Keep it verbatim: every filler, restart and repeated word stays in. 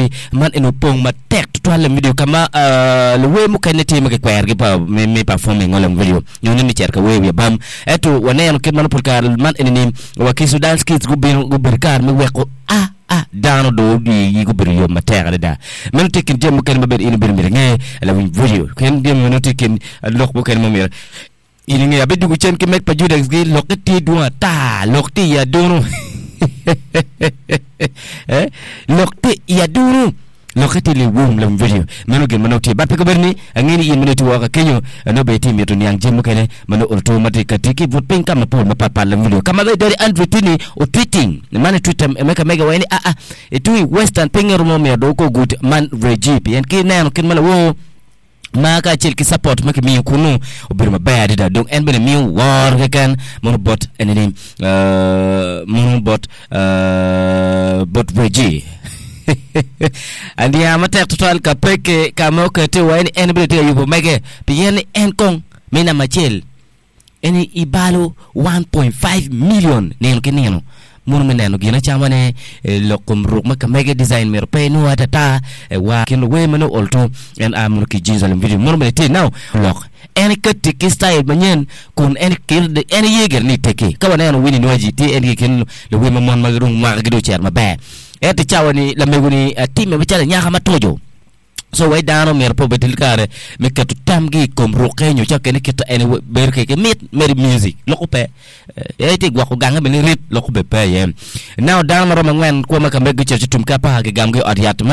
City man en opong matek tutwal i video ka ma luwer mukene tye ma kikwerogi pa me performing lam video nyo ni cito ka wer i wi abam ento waneno kit ma pol kare man eni-ni Wakiso Dance Kids gubino gubedo kare me weko a a dano dong wigi gubedo yom matek adada. Meno tye i kin jami mukene ma bene in obedo myero inge lawiny video pien jami meno tye i kin lok mukene ma myero in inge. Abidwogo cen ki meg pa Judex gi lokke tye dwong ata lok tye i adunu eh lok tye i adunu lokke tye liwum lawiny video meno gin ma nongo tye but pe kobedo ni ange ni in ma nongo itye woko ka kenyo nongo bene itye mito niang jami mukene ma nongo oruto ma tye ka tic ki i but piny ka mapol mapat pat lawiny video ka ma bene Daddy Andre tye ni otweeting man i twitter me ka mege waci ni aa itung i western pinge romo miyo dong ko gud man Reggie pien ki neno kit ma lawor ma kacel ki support ma kimiyo kunu obedo maber adada dong en bene miyo woro keken mono bot enini mono bot bot Reggie aniang matek tutwal ka peke ka ma okete wa ni en bene tye ka yubo mege pien ni en kong me namba acel En ibalo one point five million nino ki nino mono me neno gin acama ne lok kom ruk ma kamege design myero pe inwo atata wa kin luwer ma nongo olto en a mono ki Jerusalem video mono bene tye now lok en ikati ki style manyen kun en en iye gire ni iteki ka waneno Winnie Nwagi tye en ki kin luwer ma mon ma dong mwaka gi dong ocito maber ento i cawa ni lamego ni time macalo anyaka ma tojo. So wai dano myero pe obed ki kare me keto tamgi i kom rukke nyo ca kene kit en bedo kwede ki mit mere music loko pe. En tye gwoko gange bene rit loko bene pe iye. Now dano ma romo angwen kwo ma ka megi gucito ci tum ki apar gigamgi i ot yat.